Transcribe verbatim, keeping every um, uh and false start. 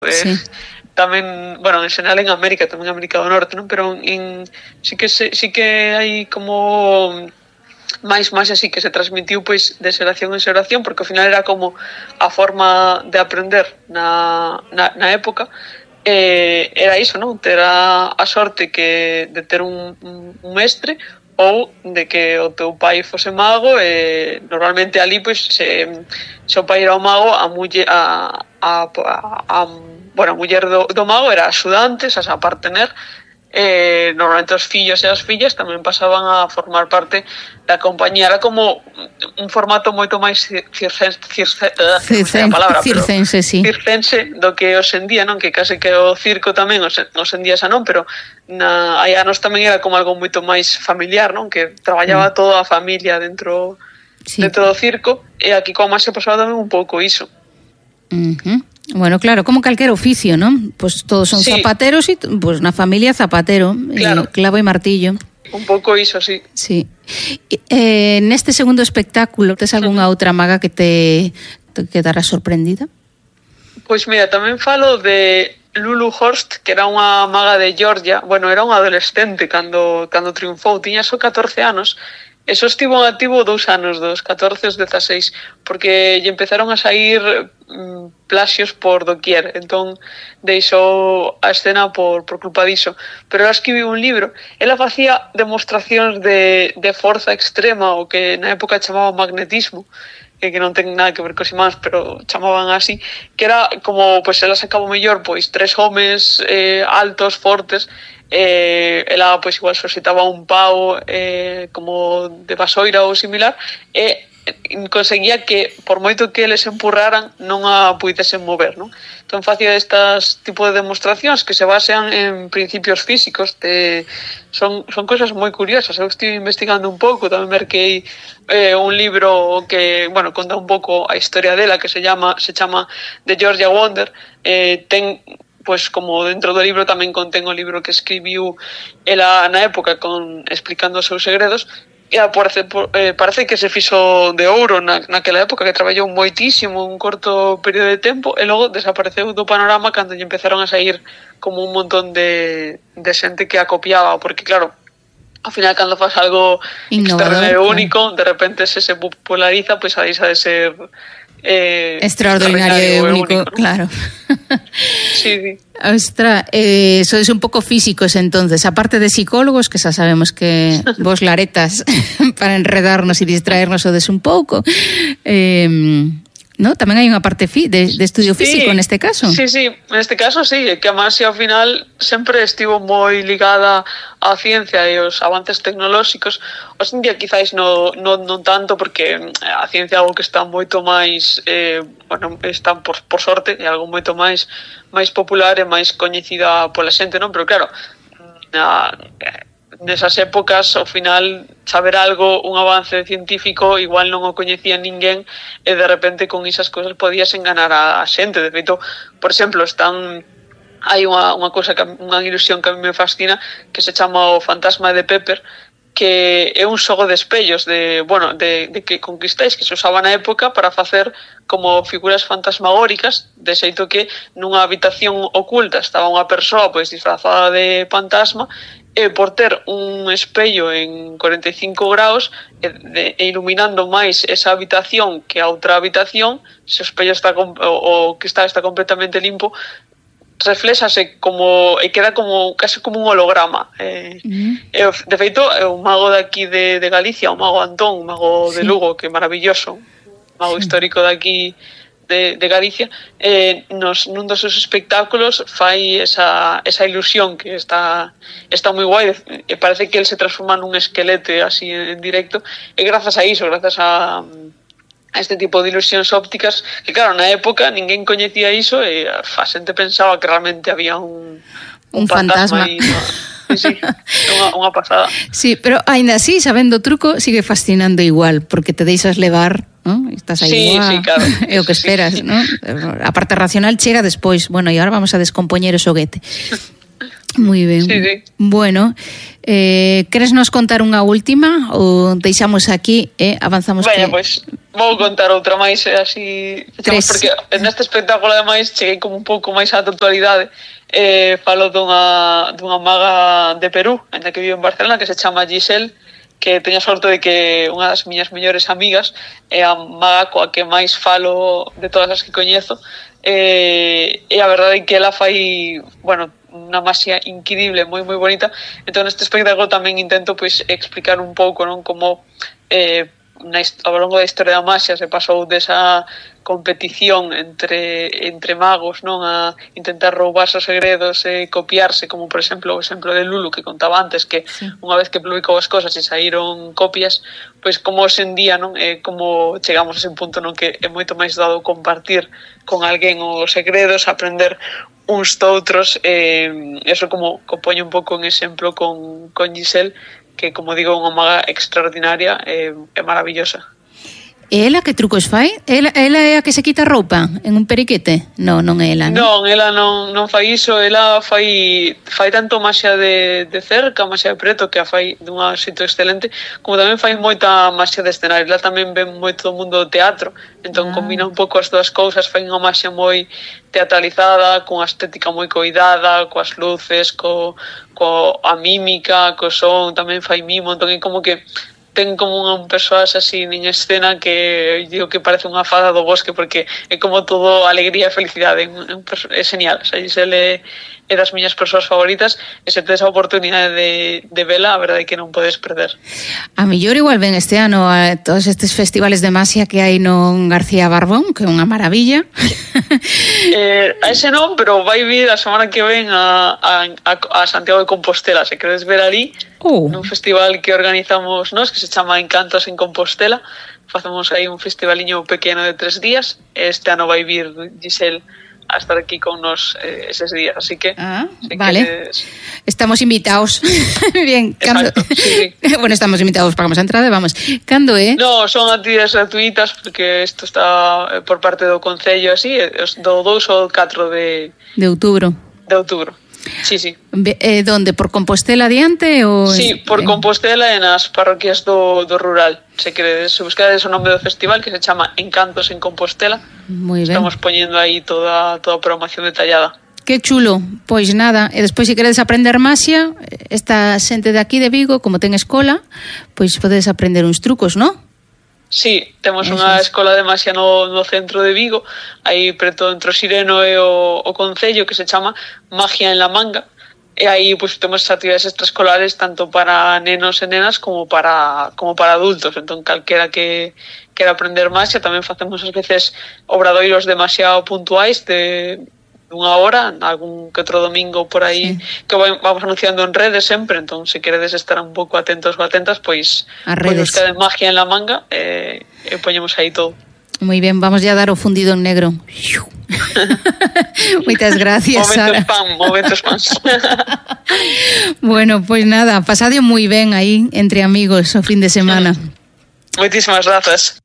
Sí. Eh, tamén, bueno, en xeral en América, tamén en América do Norte, non? Pero en, sí que se, sí que hai como máis máis así que se transmitiu pois de xeración en xeración, porque ao final era como a forma de aprender na, na, na época. Eh, era iso, non? Ter a, a sorte que de ter un, un, un mestre ou de que o teu pai fose mago e normalmente ali pois se, se o pai era o mago a muller a, a, a, a bueno, a muller do, do mago era axudante, xa a partener. Eh, normalmente os fillos e as fillas tamén pasaban a formar parte da compañía. Era como un formato moito máis circense, circe, uh, circense, palabra, circense, sí. circense do que hoxendía, non? Que case que o circo tamén hoxendía xa non, pero na, hai anos tamén era como algo moito máis familiar, non? Que traballaba mm. toda a familia dentro, sí. dentro do circo, e aquí como se pasaba tamén un pouco iso. Uh-huh. Bueno, claro, como calquer oficio, non? Pois pues todos son sí. zapateros e pois pues na familia zapatero, claro. eh, clavo e martillo. Un pouco iso, sí. Sí. Eh, neste segundo espectáculo, tes algunha uh-huh. outra maga que te, te quedara sorprendida? Pois mira, tamén falo de Lulu Horst, que era unha maga de Georgia. Bueno, era unha adolescente cando, cando triunfou, tiña só catorce anos. Eso estivo en activo dous anos, dos catorce aos dezaseis, porque lle empezaron a sair mm, plaxios por doquier, entón deixou a escena por, por culpa diso. Pero ela escribiu un libro, ela facía demostracións de, de forza extrema, o que na época chamaba magnetismo, que, que non ten nada que ver cos imáns, pero chamaban así, que era como, pois, ela sacaba mellor, pois, tres homes eh, altos, fortes, eh, ela pois igual suscitaba un pau eh, como de vasoira ou similar e conseguía que por moito que eles empurraran non a puidesen mover, non? Entón facía estas tipo de demostracións que se basean en principios físicos de, son, son cosas moi curiosas. Eu estive investigando un pouco, tamén merquei eh, un libro que, bueno, conta un pouco a historia dela, que se llama se chama The Georgia Wonder. eh, ten pois como dentro do libro tamén contén o libro que escribiu ela na época con explicando os seus segredos, e parece, eh, parece que se fixo de ouro na, naquela época, que traballou moitísimo un corto período de tempo e logo desapareceu do panorama cando lle empezaron a sair como un montón de, de xente que a copiaba, porque claro, ao final cando faz algo extraordinario único, de repente se se populariza, pois a deixa de ser Eh, extraordinario e único, único, ¿no? Claro. Sí, sí. Ostras, eh, sois un pouco físicos entonces, aparte de psicólogos, que xa sabemos que vos laretas para enredarnos e distraernos o des un pouco, eh, ¿no? Tamén hai unha parte fi, de, de estudio sí, físico neste caso. Sí, sí, neste caso sí, que a Marcia ao final sempre estivo moi ligada á ciencia e aos avances tecnolóxicos. Hoxe en día quizáis no, no, non tanto, porque a ciencia é algo que está moito máis eh, bueno, está por, por sorte, é algo moito máis máis popular e máis coñecida pola xente, non? Pero claro, na, nesas épocas, ao final, saber algo, un avance científico, igual non o coñecía ninguén, e de repente con esas cousas podías enganar a xente. De feito, por exemplo, están hai unha, unha cousa, que, unha ilusión que a mí me fascina, que se chama o fantasma de Pepper, que é un xogo de espellos de, bueno, de, de que conquistáis, que se usaba na época para facer como figuras fantasmagóricas, de xeito que nunha habitación oculta estaba unha persoa pois disfrazada de fantasma, e por ter un espello en cuarenta e cinco graus e, de, e iluminando máis esa habitación que a outra habitación, se o espello está o, o que está está completamente limpo, reflexase como e queda como casi como un holograma. Eh, uh-huh. e, de feito, é un mago de aquí de, de Galicia, o mago Antón, un mago sí. de Lugo, que é maravilloso, un mago sí. histórico de aquí de, de Galicia, eh, nos, nun dos seus espectáculos fai esa, esa ilusión que está está moi guai, e parece que el se transforma nun esquelete así en, en directo, e grazas a iso, grazas a a este tipo de ilusións ópticas, que claro, na época ninguén coñecía iso e a xente pensaba que realmente había un, un, un fantasma, fantasma. Aí, no? Sí, sí, unha, unha pasada. Sí, pero aínda así, sabendo o truco, sigue fascinando igual, porque te deixas levar, ¿no? Estás aí, sí, igual, sí, claro. É o que esperas, sí, sí. ¿No? A parte racional chega despois, bueno, e agora vamos a descompoñer o xoguete. Moi ben. Sí, sí. Bueno, eh, queres nos contar unha última ou deixamos aquí e eh, avanzamos? Veña, que... pois, vou contar outra máis e así... Tres. Porque neste espectáculo, ademais, cheguei como un pouco máis á actualidade. Eh, falo dunha, dunha maga de Perú, ainda que vive en Barcelona, que se chama Giselle, que teño a sorte de que unha das miñas mellores amigas é a maga coa que máis falo de todas as que coñezo. Eh, e a verdade é que ela fai, bueno, unha masia increíble, moi moi bonita. Entón neste espectáculo tamén intento pois explicar un pouco, non, como eh, na, ao longo da historia da masia se pasou desa competición entre entre magos, non, a intentar roubarse os segredos e copiarse, como por exemplo o exemplo de Lulu que contaba antes, que sí, unha vez que publicou as cosas e saíron copias, pois como hoxe en día, non, é como chegamos a ese punto non que é moito máis dado compartir con alguén os segredos, aprender uns doutros, eh, eso como compoño un pouco en exemplo con, con Giselle, que como digo, unha maga extraordinaria e eh, maravillosa. E ela que trucos fai? Ela, ela é a que se quita roupa en un periquete? Non, non é ela, non? Non, ela non, non fai iso, ela fai fai tanto masia de, de cerca, masia de preto, que a fai dun xeito excelente, como tamén fai moita masia de escenario. Ela tamén ven moito do mundo do teatro, entón ah. combina un pouco as dúas cousas, fai unha masia moi teatralizada, con a estética moi coidada, coas luces, co, co a mímica, co son, tamén fai mimo, entón é como que ten como un persoas así en escena que digo que parece unha fada do bosque, porque é como todo alegría e felicidade, é, é genial. O sea, Giselle é das miñas persoas favoritas e se tedes a oportunidade de, de vela, a verdade é que non podes perder. A mellor igual ven este ano a todos estes festivales de masia que hai no García Barbón, que é unha maravilla. eh, a ese non, pero vai vir a semana que ven a, a, a Santiago de Compostela, se queres ver ali, oh. nun festival que organizamos nós, que se chama Encantos en Compostela. Facemos aí un festivaliño pequeno de tres días. Este ano vai vir Giselle a estar aquí con nos eh, eses días, así que ah, si vale, queres... estamos invitados. Bien, cando... Exacto, sí, sí. Bueno, estamos invitados, pagamos a entrada, vamos. Cando é? No, son actividades gratuitas porque isto está por parte do Concello así, do dous ao catro de de outubro. De outubro. Sí, sí. Eh, donde? Por Compostela adiante? Ou... Sí, por Compostela e nas parroquias do, do rural. Se queredes, se buscades o nome do festival, que se chama Encantos en Compostela. Moi ben. Estamos poñendo aí toda, toda a programación detallada. Que chulo, pois nada. E despois, se queredes aprender masia, esta xente de aquí de Vigo, como ten escola, pois podedes aprender uns trucos, non? Sí, temos unha escola de masia no, no centro de Vigo, aí preto entre o Sireno e o, o Concello, que se chama Magia en la Manga, e aí pues, temos actividades extraescolares tanto para nenos e nenas como para, como para adultos. Entón, calquera que quera aprender masia, tamén facemos ás veces obradoiros demasiado puntuais de unha hora, algún que outro domingo por aí, sí, que vamos anunciando en redes sempre. Entón, se queredes estar un pouco atentos ou atentas, pois, pois buscade Magia en la Manga e, e poñemos aí todo. Moi ben, vamos ya a dar o fundido en negro. Moitas gracias, Sara. Momentos pan, momentos pans. Bueno, pois nada, pasadio moi ben aí entre amigos o fin de semana. Moitísimas grazas.